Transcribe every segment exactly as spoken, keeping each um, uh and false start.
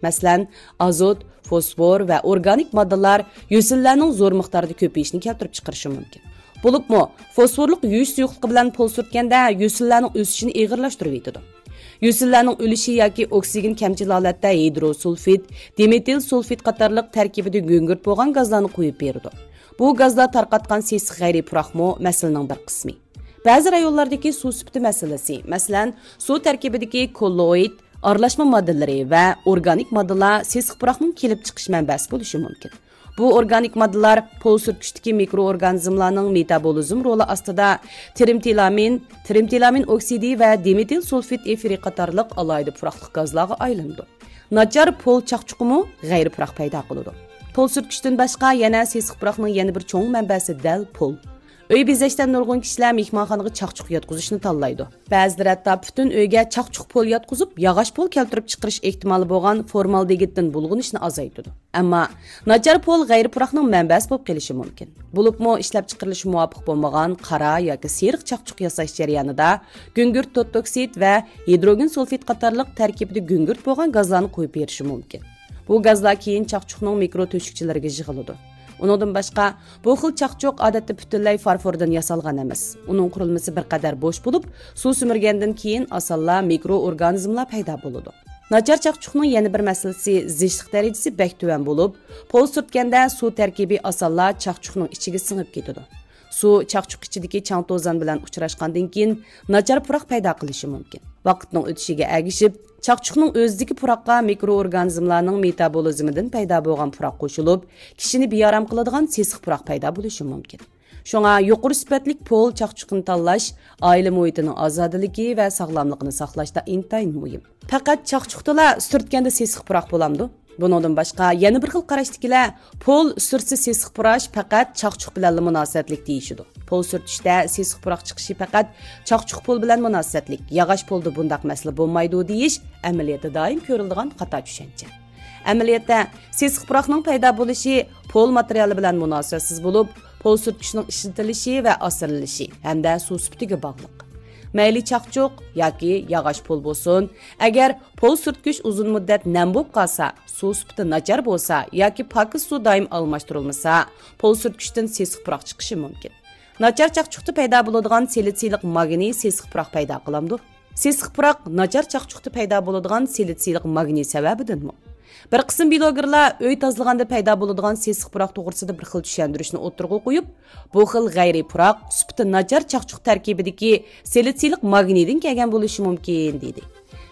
مەسىلەن، ئازوت، فوسفور ۋە ئورگانىك ماددىلار يۆسۈنلەرنىڭ زور مىقداردا كۆپىيىشىنى كەلتۈرۈپ چىقىرىشى مۇمكىن. بولۇپمۇ، فوسفورلۇق يۇيۇش سۇيۇقلۇقى بىلەن پول سۈرتكەندە يۆسۈنلەرنىڭ ئۆسۈشىنى ئېغىرلاشتۇرۇۋېتىدۇ. يۆسۈنلەرنىڭ ئۆلۈشى ياكى ئوكسىگېن كەمچىل ھالەتتە ھىدروسۇلفىد، دىمېتىل سۇلفىد قاتارلىق تەركىبىدە گۈڭگۈرت بولغان گازلارنى قويۇپ بېرىدۇ. بۇ گازلار تارقاتقان سېسىق غەيرىي پۇراقمۇ مەسىلىنىڭ بىر قىسمى. بەزى رايونلاردىكى سۇ سۈپىتى مەسىلىسى، مەسىلەن، سۇ تەركىبىدىكى كوللوئىد، ئارىلاشما ماددىلىرى ۋە ئورگانىك ماددىلار سېسىق پۇراقنىڭ كېلىپ چىقىش مەنبەسى بولۇشى مۇمكىن. بۇ ئورگانىك ماددىلار پول سۈرتكۈچتىكى مىكرو ئورگانىزملارنىڭ مېتابولىزم رولى ئاستىدا تىرىمتىلامىن، تىرىمتىلامىن ئوكسىدى ۋە دىمېتىل سۇلفىد ئېفىرى قاتارلىق ئالاھىدە پۇراقلىق گازلارغا ئايلىنىدۇ. ناچار پول چاقچۇقىمۇ غەيرىي پۇراق پەيدا قىلىدۇ. پول سۈرتكۈچتىن باشقا يەنە سېسىق پۇراقنىڭ يەنە بىر چوڭ مەنبەسى دەل پول. ئۆي بېزەشتە نۇرغۇن كىشىلەر مېھمانخانىغا چاقچۇق ياتقۇزۇشنى تاللايدۇ. بەزىلەر ھەتتا پۈتۈن ئۆيگە چاقچۇق پول ياتقۇزۇپ، ياغاچ پول كەلتۈرۈپ چىقىرىش ئېھتىمالى بولغان فورمالدېگىدتىن بۇلغىنىشنى ئازايتىدۇ. ئەمما ناچار پول غەيرىي پۇراقنىڭ مەنبەسى بولۇپ قېلىشى مۇمكىن. بولۇپمۇ ئىشلەپچىقىرىلىشى مۇۋاپىق بولمىغان قارا ياكى سېرىق چاقچۇق ياساش جەريانىدا گۈڭگۈرت توتوكسىد ۋە ھىدروگېن سۇلفىد قاتارلىق تەركىبىدە گۈڭگۈرت بولغان گازلارنى قويۇپ بېرىشى مۇمكىن. بۇ گازلار كېيىن چاقچۇقنىڭ مىكرو تۆشۈكچىلىرىگە يىغىلىدۇ. ئۇنىڭدىن باشقا، بۇ خىل چاقچۇق ئادەتتە پۈتۈنلەي فارفوردىن ياسالغان ئەمەس. ئۇنىڭ قۇرۇلمىسى بىر قەدەر بوش بولۇپ، سۇ سۈمۈرگەندىن كېيىن ئاسانلا مىكرو ئورگانىزملار پەيدا بولىدۇ. ناچار چاقچۇقنىڭ يەنە بىر مەسىلىسى، زىچلىق دەرىجىسى بەك تۆۋەن بولۇپ، پول سۈرتكەندە سۇ تەركىبى ئاسانلا چاقچۇقنىڭ ئىچىگە سىڭىپ كېتىدۇ. سۇ چاقچۇق ئىچىدىكى چاڭ توزان بىلەن ئۇچراشقاندىن كېيىن، ناچار پۇراق پەيدا قىلىشى مۇمكىن. ۋاقىتنىڭ ئۆتۈشىگە ئەگىشىپ، چاقچۇقنىڭ ئۆزىدىكى پۇراققا مىكرو ئورگانىزملارنىڭ مېتابولىزمىدىن پەيدا بولغان پۇراق قوشۇلۇپ، كىشىنى بىئارام قىلىدىغان سېسىق پۇراق پەيدا بولۇشى مۇمكىن. شۇڭا يۇقىرى سۈپەتلىك پول چاقچۇقىنى تاللاش ئائىلە مۇھىتىنىڭ ئازادىلىكى ۋە ساغلاملىقىنى ساقلاشتا ئىنتايىن مۇھىم. پەقەت چاقچۇقتىلا سۈرتكەندە سېسىق پۇراق بولامدۇ؟ بۇنىڭدىن باشقا، يەنە بىر خىل قاراشتىكىلەر پول سۈرتسە سېسىق پۇراش پەقەت چاقچۇق بىلەنلا مۇناسىۋەتلىك دېيىشىدۇ. پول سۈرتۈشتە سېسىق پۇراق چىقىشى پەقەت چاقچۇق پول بىلەن مۇناسىۋەتلىك، ياغاچ پولدا بۇنداق مەسىلە بولمايدۇ دېيىش ئەمەلىيەتتە دائىم كۆرۈلىدىغان خاتا چۈشەنچە. ئەمەلىيەتتە، سېسىق پۇراقنىڭ پەيدا بولۇشى پول ماتېرىيالى بىلەن مۇناسىۋەتسىز بولۇپ، پول سۈرتكۈچنىڭ ئىشلىتىلىشى ۋە ئاسرىلىشى ھەمدە سۇ سۈپىتىگە باغلىق. مەيلى چاقچۇق ياكى ياغاچ پول بولسۇن، ئەگەر پول سۈرتكۈچ ئۇزۇن مۇددەت نەم بولۇپ قالسا، سۇ سۈپىتى ناچار بولسا ياكى پاكىز سۇ دائىم ئالماشتۇرۇلمىسا، پول سۈرتكۈچتىن سېسىق پۇراق چىقىشى مۇمكىن. ناچار چاقچۇقتا پەيدا بولىدىغان سىلىتسىيلىق ماگنىي سېسىق پۇراق پەيدا قىلامدۇ؟ سېسىق پۇراق ناچار چاقچۇقتا پەيدا بولىدىغان سىلىتسىيلىق ماگنىي سەۋەبىدىنمۇ؟ بىر قىسىم بىلوگېرلار ئۆي تازىلىغاندا پەيدا بولىدىغان سېسىق پۇراق توغرىسىدا بىر خىل چۈشەندۈرۈشنى ئوتتۇرىغا قويۇپ، بۇ خىل غەيرىي پۇراق سۈپىتى ناچار چاقچۇق تەركىبىدىكى سىلىتسىيلىق ماگنىيدىن كەلگەن بولۇشى مۇمكىن، دېدى.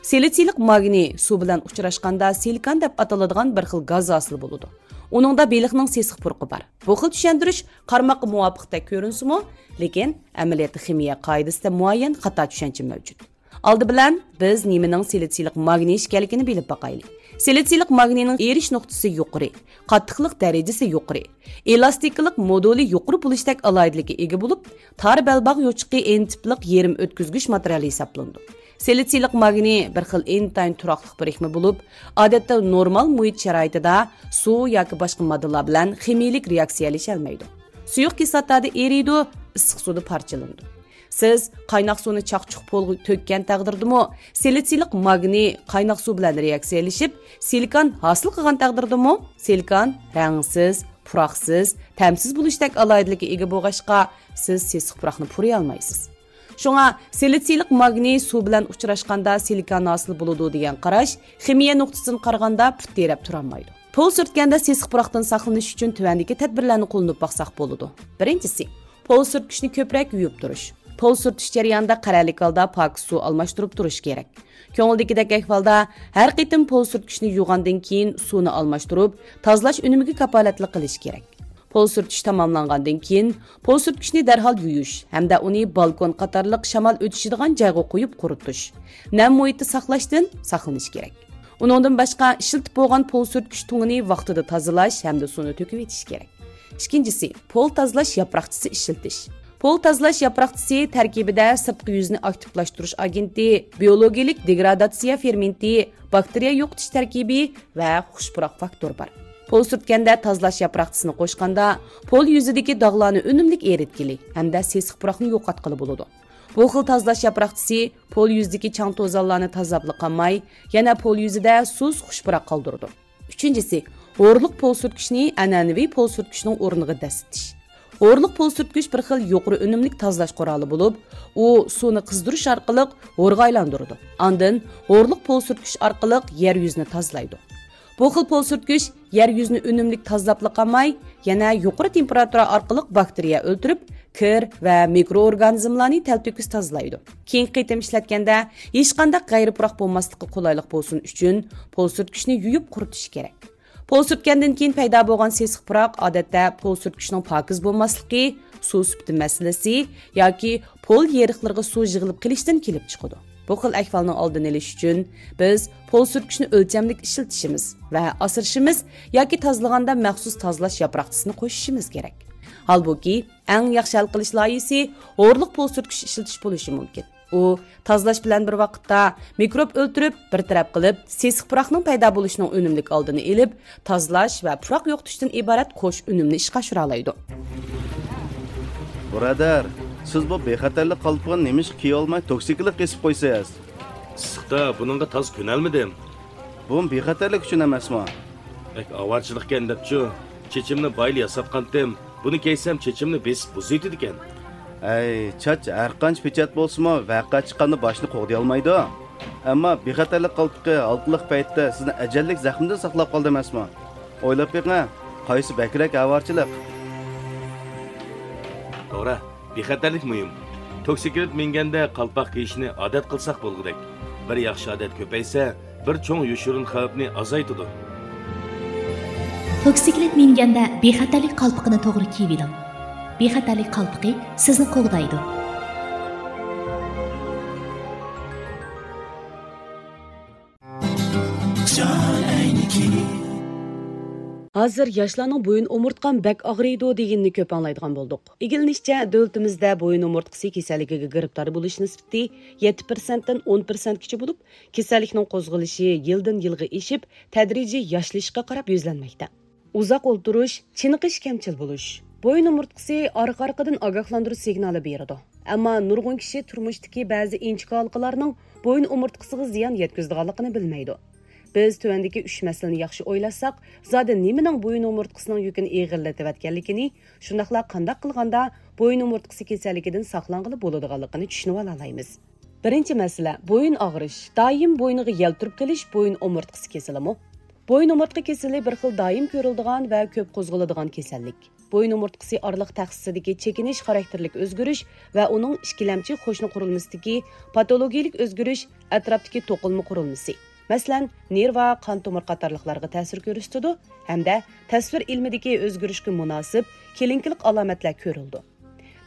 سىلىتسىيلىق ماگنىي سۇ بىلەن ئۇچراشقاندا سىلىكان دەپ ئاتىلىدىغان بىر خىل گاز ھاسىل بولىدۇ. ئۇنىڭدا بېلىقنىڭ سېسىق پۇرىقى بار. بۇ خىل چۈشەندۈرۈش قارىماققا مۇۋاپىقتەك كۆرۈنسىمۇ، لېكىن ئەمەلىيەتتە خىمىيە قائىدىسىدە مۇئەييەن خاتا چۈشەنچە مەۋجۇت. ئالدى بىلەن بىز نېمىنىڭ سىلىتسىيلىق ماگنىي ئىكەنلىكىنى بىلىپ باقايلى. سىلىتسىيلىق ماگنىينىڭ ئېرىش نۇقتىسى يۇقىرى، قاتتىقلىق دەرىجىسى يۇقىرى، ئېلاستىكىلىق مودۇلى يۇقىرى بولۇشتەك ئالاھىدىلىككە ئىگە بولۇپ، تار بەلباغ يوچۇقى ئېن تىپلىق يېرىم ئۆتكۈزگۈچ ماتېرىيال ھېسابلىنىدۇ. سىلىتسىيلىق ماگنىي بىر خىل ئىنتايىن تۇراقلىق بىرىكمە بولۇپ، ئادەتتە نورمال مۇھىت شارائىتىدا سۇ ياكى باشقا ماددىلار بىلەن خىمىيىلىك رېئاكسىيەلىشەلمەيدۇ. سۇيۇق كىسلاتادا ئېرىيدۇ، ئىسسىق سۇدا پارچىلىنىدۇ. سىز قايناق سۇنى چاقچۇق پولغا تۆككەن تەقدىردىمۇ، سىلىتسىيلىق ماگنىي قايناق سۇ بىلەن رېئاكسىيەلىشىپ، سىلىكان ھاسىل قىلغان تەقدىردىمۇ، سىلىكان رەڭسىز، پۇراقسىز، تەمسىز بولۇشتەك ئالاھىدىلىككە ئىگە بولغاچقا، سىز سېسىق پۇراقنى پۇرىيالمايسىز. شۇڭا سىلىتسىيلىق ماگنىي سۇ بىلەن ئۇچراشقاندا سىلىكان ھاسىل بولىدۇ دېگەن قاراش خىمىيە نۇقتىسىدىن قارىغاندا پۇت تىرەپ تۇرالمايدۇ. پول سۈرتكەندە سېسىق پۇراقتىن ساقلىنىش ئۈچۈن تۆۋەندىكى تەدبىرلەرنى قوللىنىپ باقساق بولىدۇ. بىرىنچىسى، پول سۈرتكۈچنى كۆپرەك يۇيۇپ تۇرۇش. پول سۈرتۈش جەريانىدا قەرەللىك ھالدا پاكىز سۇ ئالماشتۇرۇپ تۇرۇش كېرەك. كۆڭۈلدىكىدەك ئەھۋالدا ھەر قېتىم پول سۈرتكۈچنى يۇغاندىن كېيىن سۇنى ئالماشتۇرۇپ، تازىلاش ئۈنۈمىگە كاپالەتلىك قىلىش كېرەك. پول سۈرتۈش تاماملانغاندىن كېيىن، پول سۈرتكۈچنى دەرھال يۇيۇش ھەمدە ئۇنى بالكون قاتارلىق شامال ئۆتۈشىدىغان جايغا قويۇپ قۇرۇتۇش، نەم مۇھىتتا ساقلاشتىن ساقلىنىش كېرەك. ئۇنىڭدىن باشقا، ئىشلىتىپ بولغان پول سۈرتكۈچ تۇڭىنى ۋاقتىدا تازىلاش ھەمدە سۇنى تۆكۈۋېتىش كېرەك. ئىككىنچىسى، پول تازىلاش ياپراقچىسى ئىشلىتىش. پول تازىلاش ياپراقچىسى تەركىبىدە سىرتقى يۈزنى ئاكتىپلاشتۇرۇش ئاگېنتى، بىيولوگىيەلىك دېگراداتسىيە فېرمېنتى، باكتېرىيە يوقىتىش تەركىبى ۋە خۇش پۇراق فاكتورى بار. پول سۈرتكەندە تازىلاش ياپراقچىسىنى قوشقاندا، پول يۈزىدىكى داغلارنى ئۈنۈملۈك ئېرىتكىلى ھەمدە سېسىق پۇراقنى يوقاتقىلى بولىدۇ. بۇ خىل تازىلاش ياپراقچىسى پول يۈزىدىكى چاڭ-توزانلارنى تازىلاپلا قالماي، يەنە پول يۈزىدە سۇس خۇش پۇراق قالدۇرىدۇ. ئۈچىنچىسى، ھورۇقلۇق پول سۈرتكۈچنى ئەنئەنىۋى پول سۈرتكۈچنىڭ ئورنىغا دەسسىتىش. ھورۇقلۇق پول سۈرتكۈچ بىر خىل يۇقىرى ئۈنۈملۈك تازىلاش قورالى بولۇپ، ئۇ سۇنى قىزدۇرۇش ئارقىلىق ھورغا ئايلاندۇرىدۇ. ئاندىن ھورۇقلۇق پول سۈرتكۈچ ئارقىلىق يەر يۈزىنى تازىلايدۇ. بۇ خىل پول سۈرتكۈچ يەر يۈزىنى ئۈنۈملۈك تازىلاپلا قالماي، يەنە يۇقىرى تېمپېراتۇرا ئارقىلىق باكتېرىيە ئۆلتۈرۈپ، كىر ۋە مىكروئورگانىزملارنى تەلتۆكۈس تازىلايدۇ. كېيىنكى قېتىم ئىشلەتكەندە ھېچقانداق غەيرىي پۇراق بولماسلىققا قولايلىق بولسۇن ئۈچۈن، پول سۈرتكۈچنى يۇيۇپ قۇرۇتۇش كېرەك. پول سۈرتكەندىن كېيىن پەيدا بولغان سېسىق پۇراق ئادەتتە پول سۈرتكۈچنىڭ پاكىز بولماسلىقى، سۇ سۈپىتى مەسىلىسى ياكى پول يېرىقلىرىغا سۇ يىغىلىپ قېلىشتىن كېلىپ چىقىدۇ. بۇ خىل ئەھۋالنىڭ ئالدىنى ئېلىش ئۈچۈن، بىز پول سۈرتكۈچنى ئۆلچەملىك ئىشلىتىشىمىز ۋە ئاسرىشىمىز ياكى تازىلىغاندا مەخسۇس تازىلاش ياپراقچىسىنى قوشۇشىمىز كېرەك. ھالبۇكى، ئەڭ ياخشى ھەل قىلىش لايىھىسى ھورۇقلۇق پول سۈرتكۈچ ئىشلىتىش بولۇشى مۇمكىن. ئۇ تازىلاش بىلەن بىر ۋاقىتتا مىكروب ئۆلتۈرۈپ، بىر تەرەپ قىلىپ، سېسىق پۇراقنىڭ پەيدا بولۇشىنىڭ ئۈنۈملۈك ئالدىنى ئېلىپ، تازىلاش ۋە پۇراق يوقىتىشتىن ئىبارەت قوش ئۈنۈمنى ئىشقا ئاشۇرالايدۇ. بۇرادەر، سىز بۇ بىخەتەرلىك قالپىقىنى نېمىشقا كىيىۋالماي توكسىكلىق كېسىپ قويىسىز؟ ئىسسىقتا بۇنىڭغا تازا كۆنەلمىدىم. بۇمۇ بىخەتەرلىك ئۈچۈن ئەمەسمۇ؟ بەك ئاۋارىچىلىقكەن دەپچۇ، چېچىمنى بايىلا ياساتقانتىم. بۇنى كىيسەم چېچىمنى بېسىپ بۇزۇۋېتىدىكەن. ئەي، چاچ ھەرقانچە پېچەت بولسىمۇ، ۋەقە چىققاندا باشنى قوغدىيالمايدۇ. ئەمما بىخەتەرلىك قالپىقى ھالقىلىق پەيتتە سىزنى ئەجەللىك زەخمىدىن ساقلاپ قالدى ئەمەسمۇ؟ ئويلاپ بېقىڭ، قايسى بەكرەك ئاۋارىچىلىق؟ توغرا، بىخەتەرلىك مۇھىم. توكسىكلىت مىنگەندە قالپاق كىيىشنى ئادەت قىلساق بولغۇدەك. بىر ياخشى ئادەت كۆپەيسە، بىر چوڭ يوشۇرۇن خەۋپنى ئازايتىدۇ. توكسىكلىت مىنگەندە بىخەتەرلىك قالپىقىنى توغرا كىيىۋېلىڭ. بىخەتەرلىك قالپىقى سىزنى قوغدايدۇ. ھازىر ياشلارنىڭ بويۇن ئومۇرتقام بەك ئاغرىيدۇ دېگىنىنى كۆپ ئاڭلايدىغان بولدۇق. ئىگىلىنىشىچە، دۆلىتىمىزدە بويۇن ئومۇرتقىسى كېسەللىكىگە گىرىپتار بولۇش نىسبىتى يەتتە پىرسەنتتىن ئون پىرسەنتكىچە بولۇپ، كېسەللىكنىڭ قوزغىلىشى يىلدىن يىلغا ئېشىپ، تەدرىجىي ياشىلىشقا قاراپ يۈزلەنمەكتە. ئۇزاق ئولتۇرۇش، چېنىقىش كەمچىل بولۇش. بويۇن ئومۇرتقىسى ئارقا-ئارقىدىن ئاگاھلاندۇرۇش سىگنالى بېرىدۇ. ئەمما نۇرغۇن كىشى تۇرمۇشتىكى بەزى ئىنچىكە ھالقىلارنىڭ بويۇن ئومۇرتقىسىغا زىيان يەتكۈزىدىغانلىقىنى بىلمەيدۇ. بىز تۆۋەندىكى ئۈچ مەسىلىنى ياخشى ئويلاشساق، زادى نېمىنىڭ بويۇن ئومۇرتقىسىنىڭ يۈكىنى ئېغىرلىتىۋەتكەنلىكىنى، شۇنداقلا قانداق قىلغاندا بويۇن ئومۇرتقىسى كېسەللىكىدىن ساقلانغىلى بولىدىغانلىقىنى چۈشىنىۋالالايمىز. بىرىنچى مەسىلە، بويۇن ئاغرىش. دائىم بوينىغا يەلتۈرۈپ قېلىش بويۇن ئومۇرتقىسى كېسىلىمۇ؟ بويۇن ئومۇرتقا كېسىلى بىر خىل دائىم كۆرۈلىدىغان ۋە كۆپ قوزغىلىدىغان كېسەللىك. بويۇن ئومۇرتقىسى ئارىلىق تەخسىسىدىكى چېكىنىش خاراكتېرلىك ئۆزگىرىش ۋە ئۇنىڭ ئىككىلەمچى قوشنا قۇرۇلمىسىدىكى پاتولوگىيىلىك ئۆزگىرىش ئەتراپتىكى توقۇلما قۇرۇلمىسى، مەسىلەن، نېرۋا، قان تومۇر قاتارلىقلارغا تەسىر كۆرسىتىدۇ ھەمدە تەسۋىر ئىلمىدىكى ئۆزگىرىشكە مۇناسىپ كېلىنكىلىق ئالامەتلەر كۆرۈلىدۇ.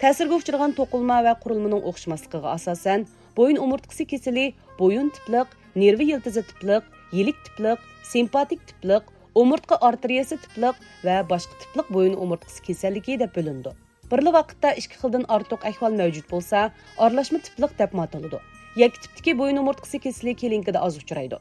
تەسىرگە ئۇچرىغان توقۇلما ۋە قۇرۇلمىنىڭ ئوخشىماسلىقىغا ئاساسەن، بويۇن ئومۇرتقىسى كېسىلى بويۇن تىپلىق، نېرۋا يىلتىزى تىپلىق، يىلىك تىپلىق، سىمپاتىك تىپلىق، ئومۇرتقا ئارتېرىيەسى تىپلىق ۋە باشقا تىپلىق بويۇن ئومۇرتقىسى كېسەللىكى دەپ بۆلۈنىدۇ. بىرلا ۋاقىتتا ئىككى خىلدىن ئارتۇق ئەھۋال مەۋجۇت بولسا، ئارىلاشما تىپلىق دەپمۇ ئاتىلىدۇ. يەككە تىپتىكى بويۇن ئومۇرتقىسى كېسىلى كېلىنكىدە ئاز ئۇچرايدۇ.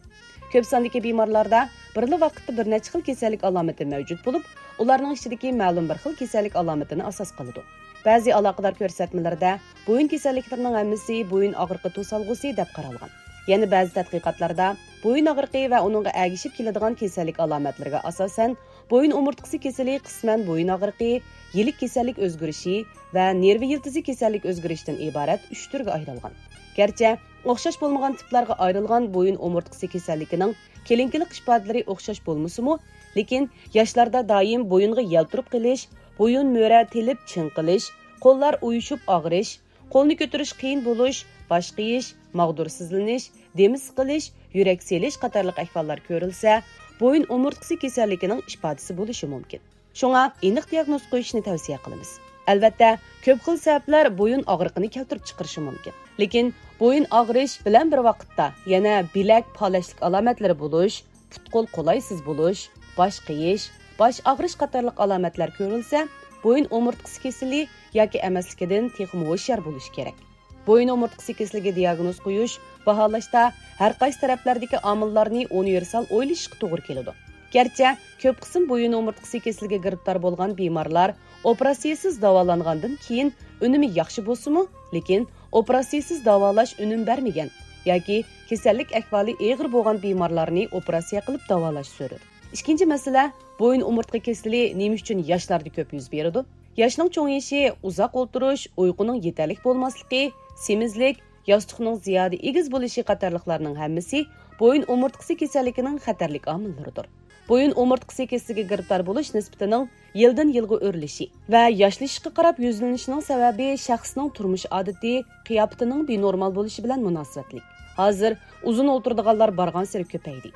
كۆپ ساندىكى بىمارلاردا بىرلا ۋاقىتتا بىر نەچچە خىل كېسەللىك ئالامىتى مەۋجۇت بولۇپ، ئۇلارنىڭ ئىچىدىكى مەلۇم بىر خىل كېسەللىك ئالامىتىنى ئاساس قىلىدۇ. بەزى ئالاقىدار كۆرسەتمىلەردە بويۇن كېسەللىكلىرىنىڭ ھەممىسى بويۇن ئاغرىقى توسالغۇسى دەپ قارالغان. يەنە بەزى تەتقىقاتلاردا بويۇن ئاغرىقى ۋە ئۇنىڭغا ئەگىشىپ كېلىدىغان كېسەللىك ئالامەتلىرىگە ئاساسەن، بويۇن ئومۇرتقىسى كېسىلى قىسمەن بويۇن ئاغرىقى، يىلىك كېسەللىك ئۆزگىرىشى ۋە نېرۋا يىلتىزى كېسەللىك ئۆزگىرىشىدىن ئىبارەت ئۈچ تۈرگە ئايرىلغان. گەرچە ئوخشاش بولمىغان تىپلارغا ئايرىلغان بويۇن ئومۇرتقىسى كېسەللىكىنىڭ كېلىنكىلىق ئىپادىلىرى ئوخشاش بولمىسىمۇ، لېكىن ياشلاردا دائىم بويۇنغا يەلتۈرۈپ قېلىش، بويۇن مۈرە تېلىپ چىڭقىلىش، قوللار ئۇيۇشۇپ ئاغرىش، قولنى كۆتۈرۈش قىيىن بولۇش، باش قېيىش، ماغدۇرسىزلىنىش، دېمى سىقىلىش، يۈرەك سېلىش قاتارلىق ئەھۋاللار كۆرۈلسە، بويۇن ئومۇرتقىسى كېسەللىكىنىڭ ئىپادىسى بولۇشى مۇمكىن. شۇڭا ئېنىق دىياگنوز قويۇشنى تەۋسىيە قىلىمىز. ئەلۋەتتە، كۆپ خىل سەۋەبلەر بويۇن ئاغرىقىنى كەلتۈرۈپ چىقىرىشى مۇمكىن. لېكىن بويۇن ئاغرىش بىلەن بىر ۋاقىتتا يەنە بىلەك پالەچلىك ئالامەتلىرى بولۇش، پۇت-قول قولايسىز بولۇش، باش قېيىش، باش ئاغرىش قاتارلىق ئالامەتلەر كۆرۈلسە، بويۇن ئومۇرتقىسى كېسىلى ياكى ئەمەسلىكىدىن تېخىمۇ ھوشيار بولۇش كېرەك. بويۇن ئومۇرتقىسى كېسىلىگە دىياگنوز قويۇش، باھالاشتا ھەر قايسى تەرەپلەردىكى ئامىللارنى ئۇنىۋېرسال ئويلىشىشقا توغرا كېلىدۇ. گەرچە كۆپ قىسىم بويۇن ئومۇرتقىسى كېسىلىگە گىرىپتار بولغان بىمارلار ئوپېراتسىيىسىز داۋالانغاندىن كېيىن ئۈنۈمى ياخشى بولسىمۇ، لېكىن ئوپېراتسىيىسىز داۋالاش ئۈنۈم بەرمىگەن ياكى كېسەللىك ئەھۋالى ئېغىر بولغان بىمارلارنى ئوپېراتسىيە قىلىپ داۋالاش زۆرۈر. ئىككىنچى مەسىلە، بويۇن ئومۇرتقا كېسىلى نېمە ئۈچۈن ياشلاردا كۆپ يۈز بېرىدۇ؟ ياشنىڭ چوڭىيىشى، ئۇزاق ئولتۇرۇش، ئۇيقۇنىڭ يېتەرلىك بولماسلىقى، سېمىزلىك، ياستۇقنىڭ زىيادە ئېگىز بولۇشى قاتارلىقلارنىڭ ھەممىسى بويۇن ئومۇرتقىسى كېسەللىكىنىڭ خەتەرلىك ئامىللىرىدۇر. بويۇن ئومۇرتقىسى كېسىلىگە گىرىپتار بولۇش نىسبىتىنىڭ يىلدىن يىلغا ئۆرلىشى ۋە ياشلىشىشقا قاراپ يۈزلىنىشىنىڭ سەۋەبى شەخسنىڭ تۇرمۇش ئادىتى، قىياپىتىنىڭ بىنورمال بولۇشى بىلەن مۇناسىۋەتلىك. ھازىر ئۇزۇن ئولتۇرىدىغانلار بارغانسېرى كۆپەيدى.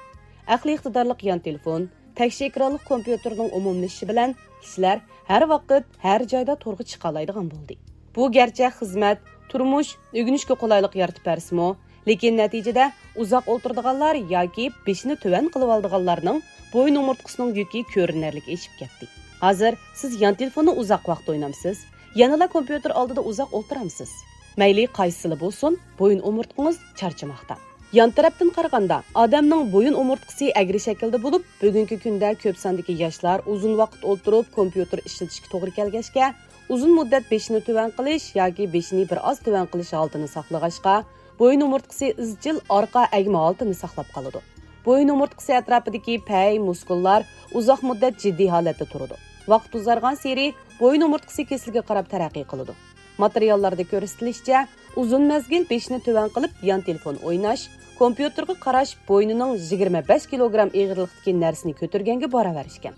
ئەقلىي ئىقتىدارلىق يان تېلېفون، تەكشى ئېكرانلىق كومپيۇتېرنىڭ ئومۇملىشىشى بىلەن كىشىلەر ھەر ۋاقىت، ھەر جايدا تورغا چىقالايدىغان بولدى. بۇ گەرچە خىزمەت، تۇرمۇش، ئۆگىنىشكە قولايلىق يارىتىپ بەرسىمۇ، لېكىن نەتىجىدە ئۇزاق ئولتۇرىدىغانلار ياكى بېشىنى تۆۋەن قىلىۋالىدىغانلارنىڭ بويۇن ئومۇرتقىسىنىڭ يۈكى كۆرۈنەرلىك ئېشىپ كەتتى. ھازىر سىز يان تېلېفوننى ئۇزاق ۋاقىت ئوينامسىز؟ يەنىلا كومپيۇتېر ئالدىدا ئۇزاق ئولتۇرامسىز؟ مەيلى قايسىسىلا بولسۇن، بويۇن ئومۇرتقىڭىز چارچىماقتا. يان تەرەپتىن قارىغاندا، ئادەمنىڭ بويۇن ئومۇرتقىسى ئەگرى شەكىلدە بولۇپ، بۈگۈنكى كۈندە كۆپ ساندىكى ياشلار ئۇزۇن ۋاقىت ئولتۇرۇپ كومپيۇتېر ئىشلىتىشكە توغرا كەلگەچكە، ئۇزۇن مۇددەت بېشىنى تۆۋەن قىلىش ياكى بېشىنى بىر ئاز تۆۋەن قىلىش ھالىتىنى ساقلىغاچقا، بويۇن ئومۇرتقىسى ئىزچىل ئارقا ئەگمە ھالىتىنى ساقلاپ قالىدۇ. بويۇن ئومۇرتقىسى ئەتراپىدىكى پەي، مۇسكۇللار ئۇزاق مۇددەت جىددىي ھالەتتە تۇرىدۇ. ۋاقىت ئۇزارغانسېرى بويۇن ئومۇرتقىسى كېسىلىگە قاراپ تەرەققىي قىلىدۇ. ماتېرىياللاردا كۆرسىتىلىشىچە، ئۇزۇن مەزگىل بېشىنى تۆۋەن قىلىپ يان تېلېفون ئويناش، كومپيۇتېرغا قاراش بوينىنىڭ يىگىرمە بەش كىلوگرام ئېغىرلىقتىكى نەرسىنى كۆتۈرگەنگە باراۋەر ئىكەن.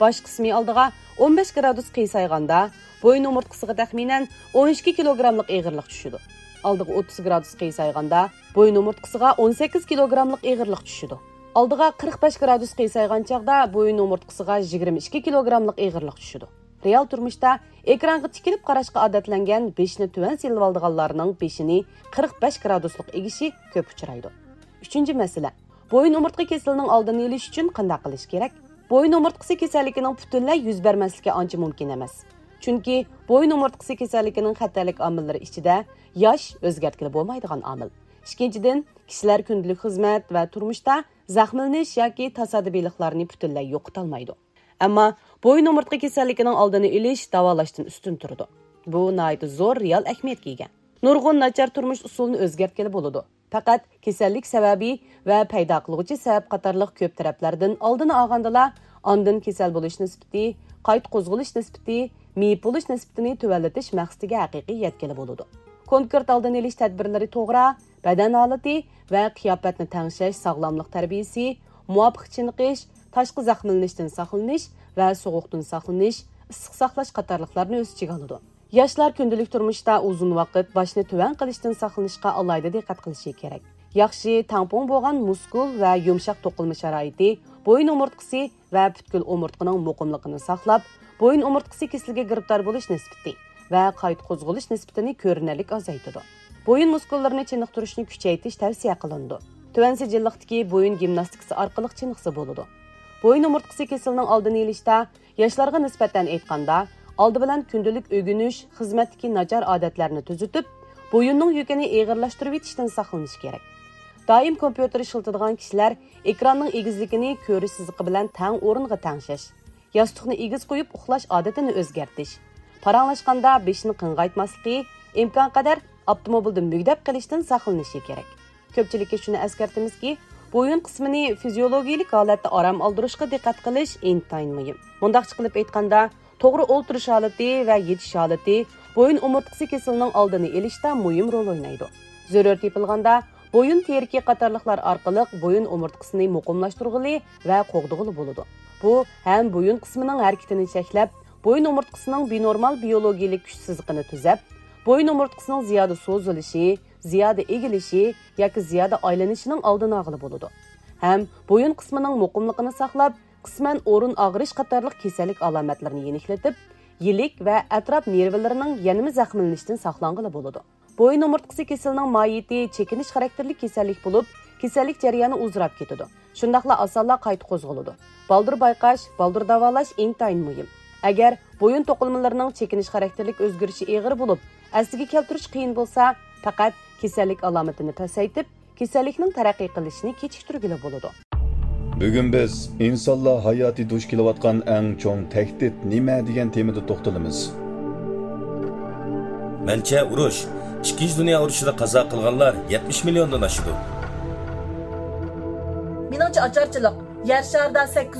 باش قىسمى ئالدىغا ئون بەش گرادۇس قىيسايغاندا، بويۇن ئومۇرتقىسىغا تەخمىنەن ئون ئىككى كىلوگراملىق ئېغىرلىق چۈشىدۇ. ئالدىغا ئوتتۇز گرادۇس قىيسايغاندا، بويۇن ئومۇرتقىسىغا ئون سەككىز كىلوگراملىق ئېغىرلىق چۈشىدۇ. ئالدىغا قىرىق بەش گرادۇس قىيسايغان چاغدا بويۇن ئومۇرتقىسىغا يىگىرمە ئىككى كىلوگراملىق ئېغىرلىق چۈشىدۇ. رېئال تۇرمۇشتا ئېكرانغا تىكىلىپ قاراشقا ئادەتلەنگەن بېشىنى تۆۋەن سېلىۋالىدىغانلارنىڭ بېشىنى قىرىق بەش گرادۇسلۇق ئېگىشى كۆپ ئۇچرايدۇ. ئۈچىنچى مەسىلە، بويۇن ئومۇرتقا كېسىلىنىڭ ئالدىنى ئېلىش ئۈچۈن قانداق قىلىش كېرەك؟ بويۇن ئومۇرتقىسى كېسەللىكىنىڭ پۈتۈنلەي يۈز بەرمەسلىكى ئانچە مۇمكىن ئەمەس. چۈنكى بويۇن ئومۇرتقىسى كېسەللىكىنىڭ خەتەرلىك ئامىللىرى ئىچىدە ياش ئۆزگەرتكىلى بولمايدىغان ئامىل. ئىككىنچىدىن، كىشىلەر كۈندىلىك خىزمەت ۋە تۇرمۇشتا زەخىملىنىش ياكى تاسادىپىيلىقلارنى پۈتۈنلەي يوقىتالمايدۇ. ئەمما بويۇن ئومۇرتقا كېسەللىكىنىڭ ئالدىنى ئېلىش داۋالاشتىن ئۈستۈن تۇرىدۇ. بۇ ناھايىتى زور رېئال ئەھمىيەتكە ئىگە. نۇرغۇن ناچار تۇرمۇش ئۇسۇلىنى ئۆزگەرتكىلى بولىدۇ. پەقەت كېسەللىك سەۋەبى ۋە پەيدا قىلغۇچى سەۋەب قاتارلىق كۆپ تەرەپلەردىن ئالدىنى ئالغاندىلا، ئاندىن كېسەل بولۇش نىسبىتى، قايتا قوزغىلىش نىسبىتى، مېيىپ بولۇش نىسبىتىنى تۆۋەنلىتىش مەقسىتىگە ھەقىقىي يەتكىلى بولىدۇ. كونكرېت ئالدىنى ئېلىش تەدبىرلىرى توغرا، بەدەن ھالىتى ۋە قىياپەتنى تەڭشەش ساغلاملىق تەربىيىسى، مۇۋاپىق چېنىقىش، تاشقى زەخىملىنىشتىن ساقلىنىش ۋە سوغۇقتىن ساقلىنىش، ئىسسىق ساقلاش قاتارلىقلارنى ئۆز ئىچىگە ئالىدۇ. ياشلار كۈندىلىك تۇرمۇشتا ئۇزۇن ۋاقىت باشنى تۆۋەن قىلىشتىن ساقلىنىشقا ئالاھىدە دىققەت قىلىشى كېرەك. ياخشى تەڭپۇڭ بولغان مۇسكۇل ۋە يۇمشاق توقۇلما شارائىتى بويۇن ئومۇرتقىسى ۋە پۈتكۈل ئومۇرتقىنىڭ مۇقىملىقىنى ساقلاپ، بويۇن ئومۇرتقىسى كېسىلىگە گىرىپتار بولۇش نىسبىتى ۋە قايتا قوزغىلىش نىسبىتىنى كۆرۈنەرلىك ئازايتىدۇ. بويۇن مۇسكۇللىرىنى چېنىقتۇرۇشنى كۈچەيتىش تەۋسىيە قىلىنىدۇ. تۆۋەن سىجىللىقتىكى بويۇن گىمناستىكىسى ئارقىلىق چېنىقسا بولىدۇ. بويۇن ئومۇرتقىسى كېسىلىنىڭ ئالدىنى ئېلىشتا ياشلارغا نىسبەتەن ئېيتقاندا، ئالدى بىلەن كۈندىلىك ئۆگىنىش، خىزمەتتىكى ناچار ئادەتلەرنى تۈزىتىپ، بويۇننىڭ يۈكىنى ئېغىرلاشتۇرۇۋېتىشتىن ساقلىنىش كېرەك. دائىم كومپيۇتېر ئىشلىتىدىغان كىشىلەر ئېكراننىڭ ئېگىزلىكىنى كۆرۈش سىزىقى بىلەن تەڭ ئورۇنغا تەڭشەش، ياستۇقنى ئېگىز قويۇپ ئۇخلاش ئادىتىنى ئۆزگەرتىش، پاراڭلاشقاندا بېشىنى قىڭغايتماسلىقى، ئىمكانقەدەر ئاپتوموبىلدا مۈگدەپ قېلىشتىن ساقلىنىشى كېرەك. كۆپچىلىككە شۇنى ئەسكەرتىمىزكى، بويۇن قىسمىنى فىزىيولوگىيىلىك ھالەتتە ئارام ئالدۇرۇشقا دىققەت قىلىش ئىنتايىن مۇھىم. مۇنداقچە قىلىپ ئېيتقاندا، توغرا ئولتۇرۇش ھالىتى ۋە يېتىش ھالىتى بويۇن ئومۇرتقىسى كېسىلىنىڭ ئالدىنى ئېلىشتا مۇھىم رول ئوينايدۇ. زۆرۈر تېپىلغاندا، بويۇن تىرىكى قاتارلىقلار ئارقىلىق بويۇن ئومۇرتقىسىنى مۇقىملاشتۇرغىلى ۋە قوغدىغىلى بولىدۇ. بۇ ھەم بويۇن قىسمىنىڭ ھەرىكىتىنى چەكلەپ، بويۇن ئومۇرتقىسىنىڭ بىنورمال بىيولوگىيىلىك كۈچ سىزىقىنى تۈزەپ، بويۇن ئومۇرتقىسىنىڭ زىيادە سوزۇلۇشى، زىيادە ئېگىلىشى ياكى زىيادە ئايلىنىشىنىڭ ئالدىنى ئالغىلى بولىدۇ. ھەم بويۇن قىسمىنىڭ مۇقىملىقىنى ساقلاپ، قىسمەن ئورۇن ئاغرىش قاتارلىق كېسەللىك ئالامەتلىرىنى يېنىكلىتىپ، يىلىك ۋە ئەتراپ نېرۋىلىرىنىڭ يەنىمۇ زەخىملىنىشتىن ساقلانغىلى بولىدۇ. بويۇن ئومۇرتقىسى كېسىلىنىڭ ماھىيىتى چېكىنىش خاراكتېرلىك كېسەللىك بولۇپ، كېسەللىك جەريانى ئۇزىراپ كېتىدۇ. شۇنداقلا ئاسانلا قايتا قوزغىلىدۇ. بالدۇر بايقاش، بالدۇر داۋالاش ئىنتايىن مۇھىم. ئەگەر بويۇن توقۇلمىلىرىنىڭ چېكىنىش خاراكتېرلىك ئۆزگىرىشى ئېغىر بولۇپ، ئەسلىگە كەلتۈرۈش قىيىن بولسا، پەقەت كېسەللىك ئالامىتىنى پەسەيتىپ، كېسەللىكنىڭ تەرەققىي قىلىشىنى كېچىكتۈرگىلى بولىدۇ. بۈگۈن بىز ئىنسانلار ھاياتى دۇچ كېلىۋاتقان ئەڭ چوڭ تەھدىت نېمە دېگەن تېمىدا توختىلىمىز. مەنچە، ئۇرۇش ئىككىنچى دۇنيا ئۇرۇشىدا قازا قىلغانلار يەتمىش مىليوندىن ئاشىدۇ. مېنىڭچە ئاچارچىلىق يەر شارىدا سەككىز